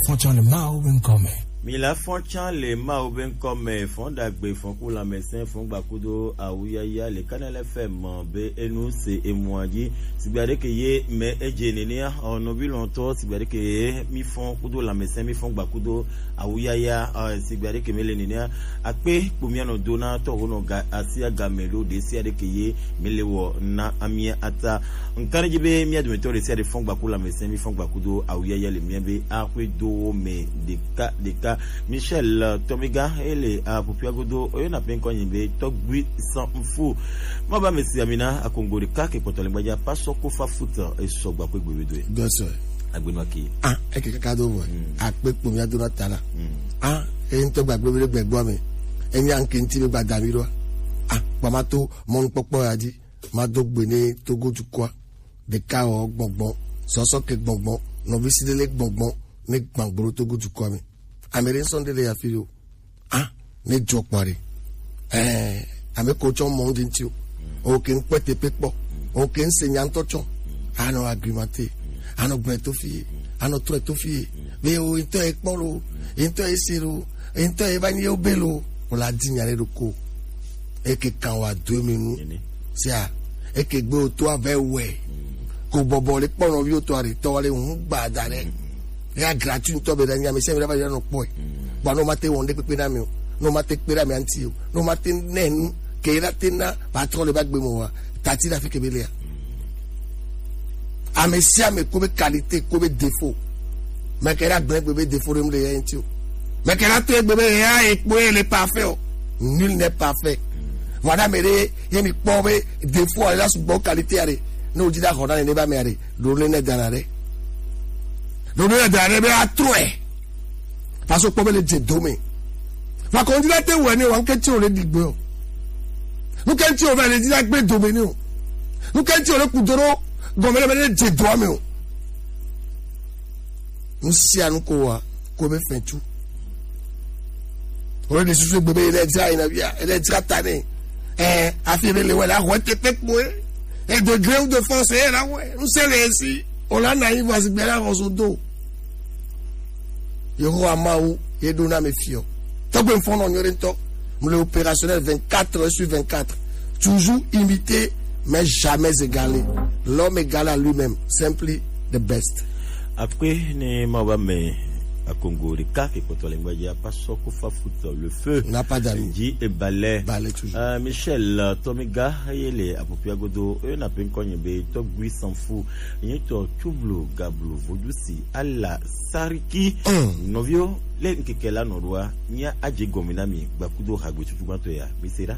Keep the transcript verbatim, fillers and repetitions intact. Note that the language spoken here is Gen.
Fɔn tsã le Mawu be ŋkɔ me. Mi la fɔn tsã le Mawu be ŋkɔ me, fɔn ɖagbe, fɔn ku lãmesẽ, fɔn gbakudo awuyaya le Kanal F M be enu se emua dzi. Sigbe aɖeke ye me edze nenea, ɔ, nɔvi lɔ̃tɔ, sigbe aɖeke ye mi fɔn kudo lãmesẽ, mi fɔn gbakudo awuyaya, ɔ, sigbe aɖeke me le nenea. Akpe kpo mia nɔ do na tɔ ho nɔ ga asia game ɖo ɖe sia ɖeke ye mi le wɔ na amia ata. Ŋka ɖe dzi be mia dometɔ ɖe sia ɖe fɔn gbaku lãmesẽ, mi fɔn gbakudo awuyaya le mia be axwe do wo me ɖeka ɖeka. Michel, euh, Tomiga, ele, euh, apopia godo, oyɔna pe ŋkɔ nyi be Tɔgbui Sanfu. Ma ba me si amina akongo ɖeka ke kpɔtɔ le gbadza, pasɔ ko fa foot, e sɔ gba ko gbe do e. Dɔsɔ. Agbenu aki. Ah, eke kaka do vɔ. Mm. Akpe kpo mia do na ta la. Mm. Ah, e ŋutɔ gbagbe be gbɛgbɔ me. Enya ŋke ŋti be gbada mi ɖo. Ah, kpamato mɔnukpɔkpɔ ya dzi. Mado gbe ne Togo dukɔa. Ɖeka wɔ gbɔngbɔn, sɔsɔ ke gbɔngbɔn, nɔvi si ɖe le gbɔngbɔn, ne gbãgblo Togo dukɔa me. Ame ɖe ŋsɔ ɖe le afi ɖe o. Ah, ne dzɔ kpɔ ɖe. Eh, ame ko tsɔ mɔ ŋdi ŋti o. O ke ŋkpɛ teƒe kpɔ. O ke ŋse nya ŋtɔ tsɔ. Anɔ agrimate. Anɔ gblɔe to fie. Anɔ trɔe to fie. Be o ŋtɔ ye kpɔ lo. Ŋtɔ ye se lo. Ŋtɔ ye va nyi ye be lo. O la di nya ɖe ɖo ko. Eke kan wa do mi nu. Sia, eke gbe o to avɛ wɛ. Ko bɔbɔ le kpɔ nɔvi o to are tɔ le ŋu gba da ɖe. Ya gratuit ŋutɔ be ɖe nya mi se mi ɖe va yi nɔ kpɔe. Bɔ no ma te wɔn ɖe kpekpe na mi o. No ma te kpe ɖe mi anti o. No ma te nɛ nu. Ke yi la te na patron le va gbe mo wa. Tati la fi ke be le ya. Ame sia ame ko be qualité, ko be défaut. Mɛ ke la gblẽ gbe be défaut ɖe mu le ya ŋti o. Mɛ ke la to egbe be ya ekpo ye le parfait o. Nul n'est parfait. Voilà, mais ye mi kpɔ be défaut ale la sugbɔ qualité ale. Ne o di la xɔ na ne ba me ale. Do ne ne dana ɖe. Do ne ne dana ɖe be atrɔe. Parce que kpɔ be le dze dome. Va ko ndi la te wɛ ne wa nke ti o le digbe o. Nu ke ti o va le di la gbe dome ne o. Nu ke ti o le kudoro gɔme le be le dze doa me o. Nu sia nu ko wa ko be fɛn tu. O le de susu gbe be le dza ina bia, le dza ta ne. Eh, afi be le wɛ la ho te pe kpo e. E degré ou de force e la wɛ. Nu se le si. O la na yi va si gbe la ho so do. Yehowa Mawu ye ɖo na mi fiɔ. Tɔgbe ŋfɔnɔ nyuie ɖe ŋutɔ. Mu le opérationnel vingt-quatre heures sur vingt-quatre. Toujours imité, mais jamais égalé. L'homme égal à lui-même, simply the best. Akpe ne ma ba me akongo ɖeka ke kpɔtɔ le ŋgbadzi apa sɔ ko fa foot le feu. N'a pas d'amis. Dzi ebalɛ. Balɛ toujours. Euh, Michel, euh, Tomiga, ye le apopia godo, e na pe ŋkɔ nye be Tɔgbui Sanfu. Nye tɔ Tublo Gablo Vodusi ala Sariki. Mm. Nɔviwo, le ŋkeke la nɔ ɖoa, mía adze gɔme na mi gbakudo hagbe tutugbãtɔ ya. Mi se ɖa.